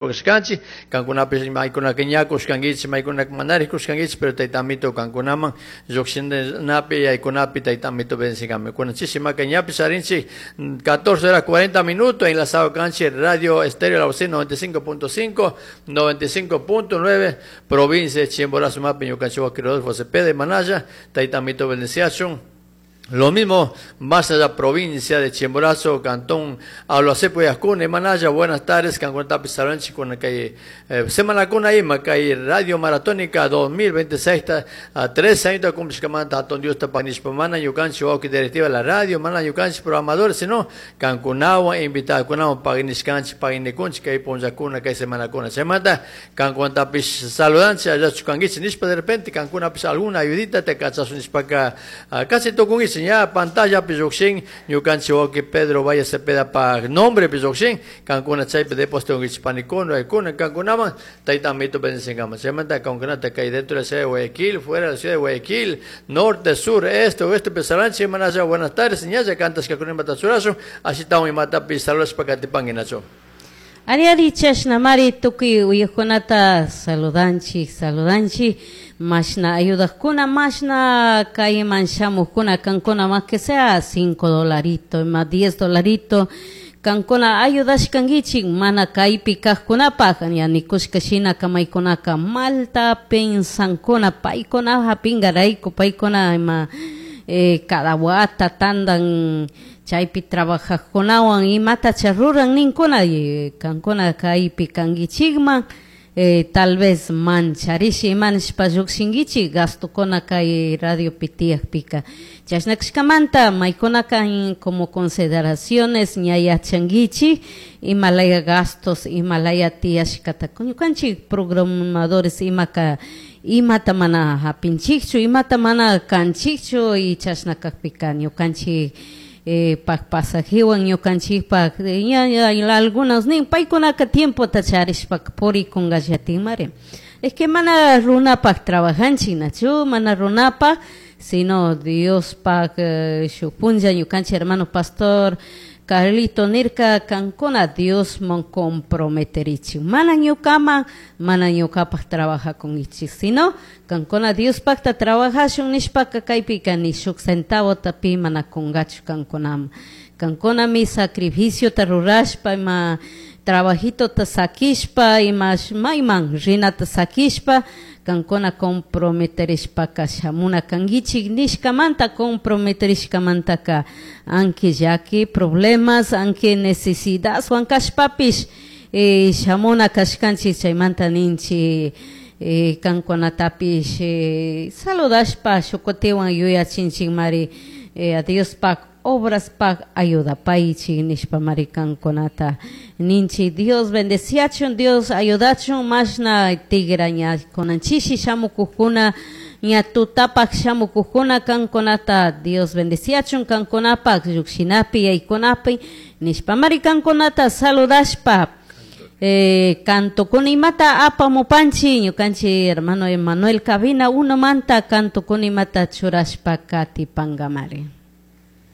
Kushkanchik, kankunapish maykunaka ña kushkankichik, maykunaka manarij kushkankichik, pero Tayta Amito kankunaman lluqshinapi yaykunapi Tayta Amito bendecingami. Kunan chishimaka ñapish charinchik 14 horas 40 minutos enlazado kanchik Radio Estéreo La Bocina 95.5, 95.9, provincia de Chimborazo mapi ñukanchik wawki Rodolfo Cepeda Manaya, Tayta Amito bendeciachun. Lo mismo más allá provincia de Chimborazo, Cantón Aloacepo y Ascune, Manaya, buenas tardes, Cancuentapi Salanchi con kay semana con ahí, kay Radio Maratónica 2026 a 3 años cumplishkamanta hatun Diosta pagnishpa mana ñukanchik wawki directiva la radio, mana ñukanchik programadores, sino kankunawan invitakunawan pagnishkanchik pagnikunchik kay punllakuna kay semanakuna. Chaymanta kankunapish saludanchik allachu kankichik nishpa de repente kankunapish alguna ayudita te kachasun nishpaka casi tukunkichik ña pantallapi lluqshin ñukanchik wawki Pedro Valle Cepeda pa nombre pi lluqshin kankuna chaypi depósito kunkichik panikuna waykuna kankunaman Tayta Amito bendecingama. Chaymanta kankunata kay dentro de la ciudad de Guayaquil, fuera de la ciudad de Guayaquil, norte, sur, este, oeste, pesaranchi, manaya, buenas tardes, ñalla kantashkakuna imata churashun, ashitawan imatapi saludashpa katipanki Nacho. Ari ari chashnamari tukuy uyajkunata saludanchik, saludanchik, mashna ayudajkuna, mashna kayman shamujkuna, kankuna más que sea 5 dolaritos, más 10 dolaritos, kankuna ayudashkankichik mana kaypi kajkunapaj, ña nikushka shina kamaykunaka malta pensankuna, paykuna hapingarayku, paykuna ima cada wata tandan chaypi trabajajkunawan imatacha ruran ninkuna, y kankuna kaypi kankichikman, tal vez mancharish ima nishpa llukshinkichik gastokuna kay radiopi tiyakpika. Chashna kashkamanta maykunaka como consideraciones ña yachankichik imalaya gastos, imalaya tiyashkata. Ñukanchik programadores imaka imata mana hapinchikchu, imata mana kanchikchu y chashna kakpika ñukanchik pak pasajewan ñukanchikpak ña ña algunos nin paykunaka tiempota charishpaka purikungallatinmari. Es que mana runapak trabajanchik nachu, mana runapak, sino Diospak shuk punlla ñukanchik hermano pastor Carlito nirka kankuna Diosman comprometerichik, mana ñukaman, mana ñukapak trabajakunkichik, sino kankuna Diospakta trabajashun nishpaka kaypika ni shuk centavota pi mana kungachu kankunaman. Kankunami sacrificiota rurashpa ima trabajitota sakishpa ima mayman rinata sakishpa kankuna comprometerishpaka shamuna kankichik nishkamanta comprometerishkamantaka anque llaki problemas, anque necesidadwan kashpapish shamuna kashkanchik chaymanta ninchik kankunatapish saludashpa shukutiwan yuyachinchikmari a Diospak obraspak ayudapaychik nishpa mari kankunata ninchik. Dios bendeciachun, Dios ayudachun mashna tigra ña kunanchishi shamukujkuna ña tutapak shamukujkuna kankunata Dios bendeciachun kankunapak llukshinapi yaykunapi nishpa mari kankunata saludashpa canto imata apamupanchi ñukanchik hermano Emanuel Cabina uno manta canto imata churashpa katipangamari.